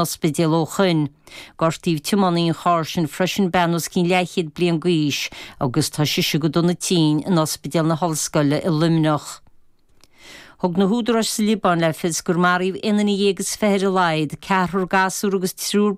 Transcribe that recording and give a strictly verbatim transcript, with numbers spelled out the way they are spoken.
ospidéal ó shin. Gortaíodh tiománaí an chairr sin freisin bean os cionn leathchéad bliain d'aois agus tá sise go dona tinn in ospidéal na hollscoile i Luimneach. Thug na húdaráis sa Liobáin le fios gur maraíodh aon duine dhéag is fiche ar a laghad, ceathrar gasúr agus triúr